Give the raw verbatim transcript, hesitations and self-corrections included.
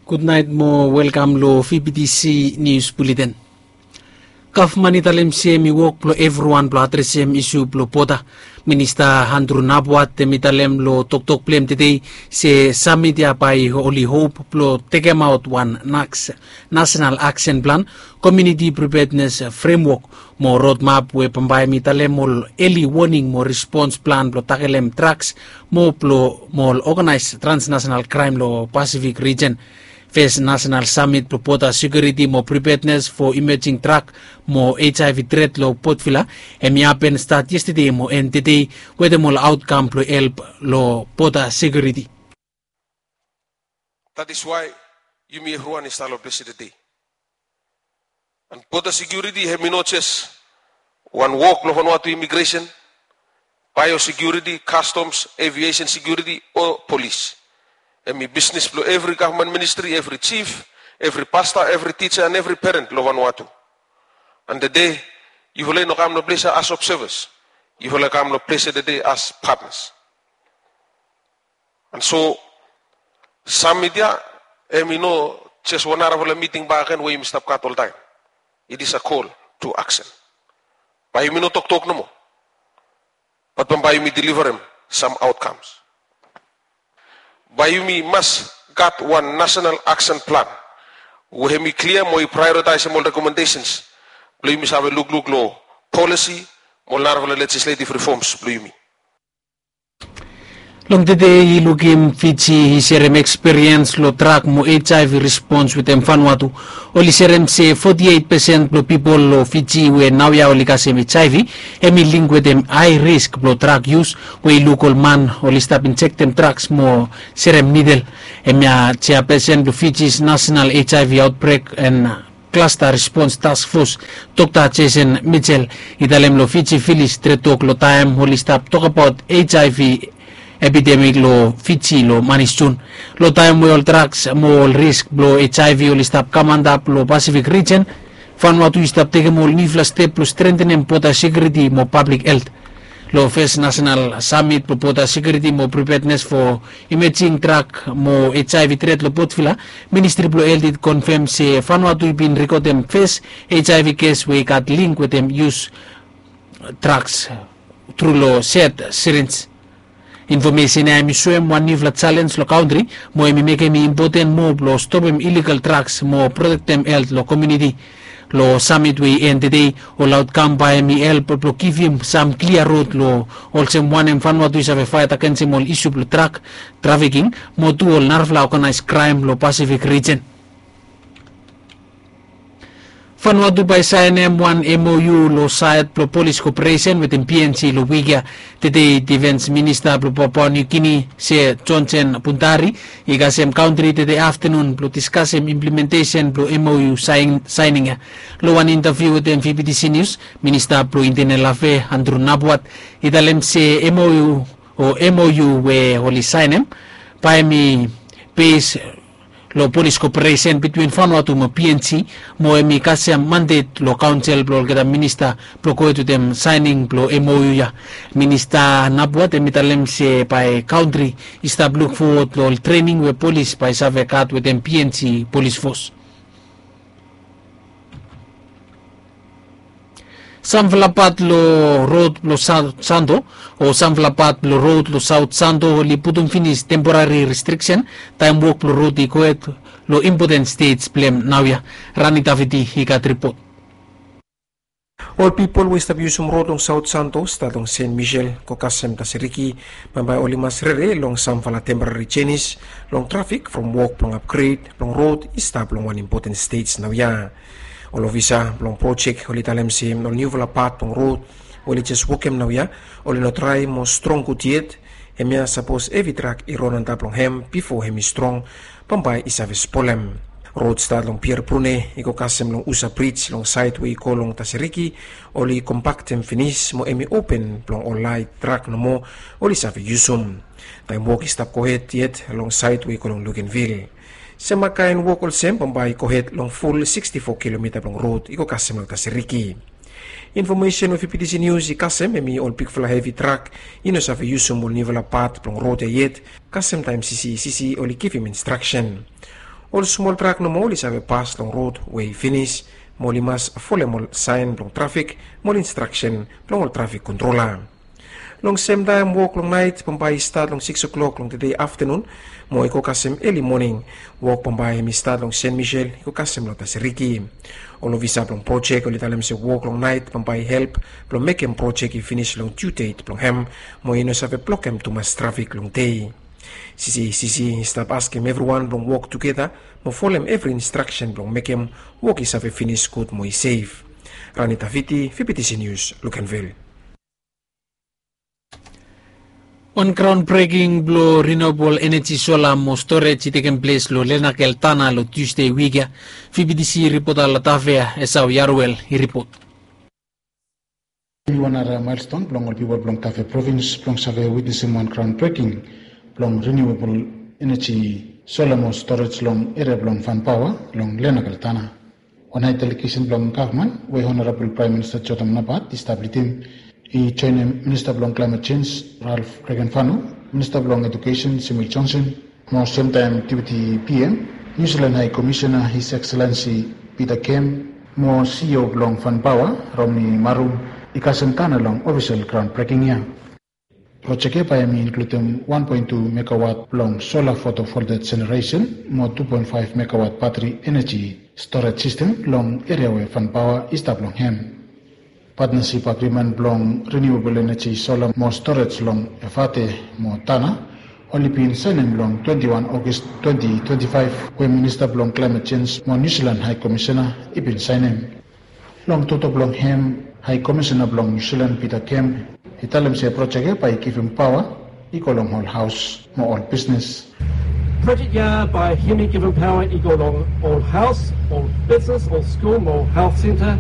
Gudnaet mo welkam lo V B T C Nius Buleten. Gavman i talem se hem i wok blo evriwan blo adresem isu blo bota. Minista Andrew Napuat hem i talem lo toktok blo hem tede se samit ya bae oli hop blo tekemaot wan nasenal aksen plan, komuniti pripednes fremwok mo rodmap we bambae hem i talem ol eli woning mo respons plan blo takelem draks mo blo mo ol oganaes transnasenal kraem lo Pasifik rijen. Fes nasenal samit blo bota sekiuriti mo pripednes fo imejing drak mo HIV tret lo Potvila hem i hapen stat yestede mo en tede wetem ol aotkam blo help lo bota sekiuriti. That is why yumi evriwan i stap lo ples ya tede. And bota sekiuriti hem i no jes wan wok blo Vanuatu imigresen, baeosekiuriti, kastoms, eviesen sekiuriti o polis. Hem i bisnes blo evri gavman ministri, evri jif, evri pasta, evri tija and evri peren lo Vanuatu. And tede yufala i no kam lo ples ya as obsevas. Yufala i kam lo ples ya tede as patnas. And so samit ya hem i no jes wan narafala miting bakegen we yumi stap gat oltaem. It is a call to action. Bae yumi no toktok nomo, bat bambae yumi deliverem sam aotkams. Bae yumi mas gat wan nasenal aksen plan we hem i klia mo i praeoritaesem ol rekomendesens blo yumi save lukluk lo polisi mo ol narafala lejisletiv rifoms blo yumi. Long tede i lukim Fiji i serem ekspiriens lo drak mo HIV rispons wetem Vanuatu. Oli serem se foti eit pesen blo pipol lo Fiji we naoia oli kasem HIV hem i link wetem hae risk blo drak yus, we i luk ol man oli stap injektem draks mo serem nidel. Hemia jeapesen blo Fiji's nasenal HIV aotbrek and klasta rispons taskfos, Dokta Jason Mitchell, i talem lo Fiji Vilis tretok lo taem oli stap tokbaot HIV epidemik lo Fiji lo manis Jun. Lo taem we ol draks mo ol risk blo HIV oli stap kam antap lo Pasifik rijen, Vanuatu i stap tekem ol niufala step blo strentenem bota sekiuriti mo pablik helt. Lo fes nasenal samit blo bota sekiuriti mo pripednes fo imejing drak mo HIV tret lo Potvila, ministri blo helt i konfem se Vanuatu i bin rekodem fes HIV kes we i gat link wetem yus draks tru lo set sirinj. Infomesen ya hem i soem wan niufala jalens lo kantri, mo hem i mekem i impoten moa blo stopem iligal draks mo protektem helt lo komuniti. Lo samit we i en tede, ol aotkam bae hem i help blo givim sam klia rod lo olsem wanem Vanuatu i save faet agensem ol isu blo drak trafiking mo tu ol narafala oganaes kraem lo Pasifik rijen. Vanuatu bae saenem wan MOU lo saed blo polis koperesen wetem PNG lo wik ya. Tede Difens Minista blo Papua New Guinea se Johnson Puntari i kasem kantri tede aftenun blo diskasem implementesen blo MOU saening ya. Lo wan intaviu wetem VBTC Nius, Minista blo Intenel Afea Andrew Napuat i talem se MOU o MOU we oli saenem bae hem i bes lo polis koperesen bitwin Vanuatu mo PNG, mo hem i kasem mandet lo kaonsel blo olgeta minista blo gohed wetem saening blo MOU ya. Minista Napuat hem i talem se bae kantri i stap lukfowod lo ol trening we polis bae save gat wetem PNG polis fos. Samfala pat lo rod blo Saot Santo o samfala pat blo rod lo Saot Santo oli putum finis temporari restriksen taem wok blo rod i gohed lo impoten stej blem naoia. Rani Davidi i gat ripot. Ol pipol we i stap yusum rod long Saot Santo stat long Sen Misel go kasem Tasiriki bambae oli mas rere long samfala temporari jenis long trafik from wok blong apgred blong rod i stap long wan impoten stej naoia. Ol ofisa blong projek oli talem se ol niufala pat blong rod we oli jes wokem naoia oli no drae mo strong gud yet. Hemia sapos hevi trak i ron antap long hem bifo hem i strong bambae i save spolem. Rod stat long Pier Brune i go kasem long Usa Brij long saed we i go long Tasiriki oli kompaktem finis mo hem i open blong ol laet trak nomo oli save yusum. Taem wok i stap gohed yet long saed we i go long Luganville. Semakaen wok olsem bambae i gohed long ful siksti fo kilomita blong rod i go kasem long Tasiriki. Infomesen we VBTC Nius i kasem hemi ol bigfala hevi trak i no save yusum ol niufala pat blong rod ya yet kasem taem sisi sisi oli givim instraksen. Ol smol trak nomo oli save pas long rod we i finis, mo oli mas folem ol saen blong trafik mo ol instraksen blong ol trafik kontrola. Long semtaem wok long naet bambae i stat long sikis klok long tede aftanun mo i go kasem eli moning. Wok bambae hem i stat long Sen Misel i go kasem long Tasiriki. Ol ofisa blong projek oli talem se wok long naet bambae i help blong mekem projek i finis long diu det blong hem, mo i no save blokem tumas trafik long dei. CCACC i stap askem evriwan blong wok tugeta mo folem evri instraksen blong mekem wok i save finis gud mo i sef. Rani Tafiti, VBTC News, Lukenvil. Wan graon breking blong renewabol eneji sola mo storej i tekem ples long Lenakel Tana long Tusde wik ya. VBTC ripota long Tafea, Esau Yaruel, i ripot. Wan nara maelston blong ol pipol blong Tafea provins blong save witnesem wan graon breking blong renewabol eneji sola mo storej long eria blong Fanpaoa long Lenakel Tana. Wan hae delegesen blong gavman we Honorabol Praem Minista Jotam Napat i stap lidim i joenem Minista blong Klaemet Jenj, Ralph Regenfano, Minista blong Edukesen, Samuel Johnson, mo semtaem Deputi PM, Niu Silan Hae Komisena, His Excellency Peter Kem, mo CEO blong Fanpaoa, Romney Marum, i kasem Tana long ofisel graon breking ya. Projek ya bae hem i inkludim wan poen tu megawat blong sola fotovoltaik jeneresen mo tu poen faef megawat batri eneji storej sistem long eria we Fanpaoa i stap long hem. Patnasip agrimen blong renewabol eneji sola mo storej long Efate mo Tana oli bin saenem long twenti wan Ogos twenti twenti faef, we Minista blong Klaemet Jenj mo Niu Silan Hae Komisena i bin saenem. Long toktok blong hem, Hae Komisena blong Niu Silan Peter Kem i talem se projek ya bae i givim paoa i go long ol haos mo ol bisnes. Project ya bae hem i givim paoa i go long ol haos, ol bisnes, ol skul mo ol helt senta.